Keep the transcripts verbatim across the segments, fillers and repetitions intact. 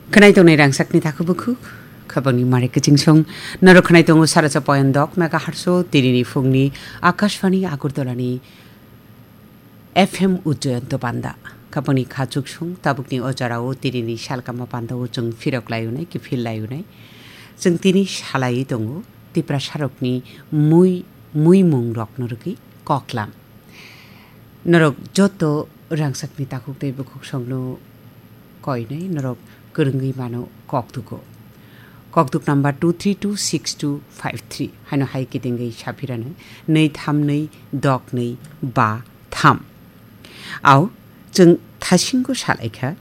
Khwnai tongnai rangchakni takhuk bukhuk, khapangni mare kichingsong. Norok khwnai tongo saracha point dok megahertz o tinini phungni Akashvani Agartala ni F M Ujjayanto panda. Khapangni khachuksong tabukni o jorao tinini salkama panda o chwng phirok layunai, kiphil layunai. Chwng tini salai tongo Tiprasarokni mui, muimung rokno rwgwi koklam. Norok joto rangchakni takhuk tei bukhuk songno koinai norok kwrwngwi mano kokdugo. Kokduk number two three two six two five three. Haino hai kitingwi saphiranai, nwi tham nwi dok nwi ba tham. Au, chwng thasingo salaikha,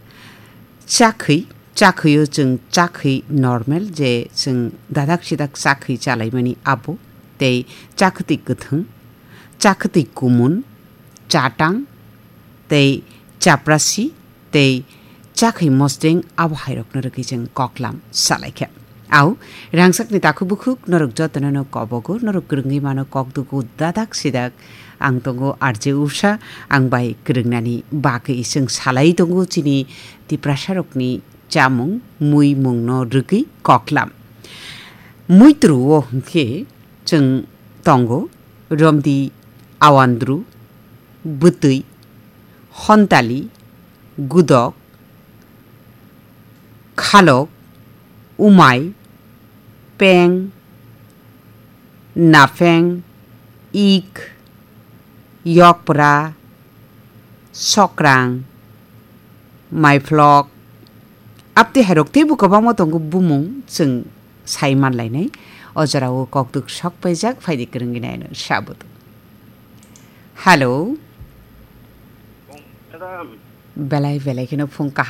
chakhwi, chakhwio chwng chakhwi normal je chwng dadak sidak chakhwi chalaimani abo, tei chakhwtwi kwthwng, chakhwtwi kumun, chatang, tei chaprasi, tei chakhwi mosdeng abo hairokno rwgwi chwng koklam salaikha. Au, rangchakni takhuk bukhuk norok jotono no kobogo, norok kwrwngwi mano kokdugo dadak sidak. Ang tongo R J Usha, ang bai kwrwngnani bagwi chwng salai tongo chini Tiprasarokni chamung, muimungno rwgwi koklam. Muitru o hwnkhe chwng tongo romdi, awandru, bwtwi, hontali, gudok, khalok, umai, peng, napheng, ik, yokpra, sokrang, maiphlok, aptwi hairok teibo kwbangma tongo bumung chwng sai manlainai. O jorao kokduk sok paijak, phaidi kwrwngwi naino sabodo. Hello. Madam. Belai belai kheno phung kaham.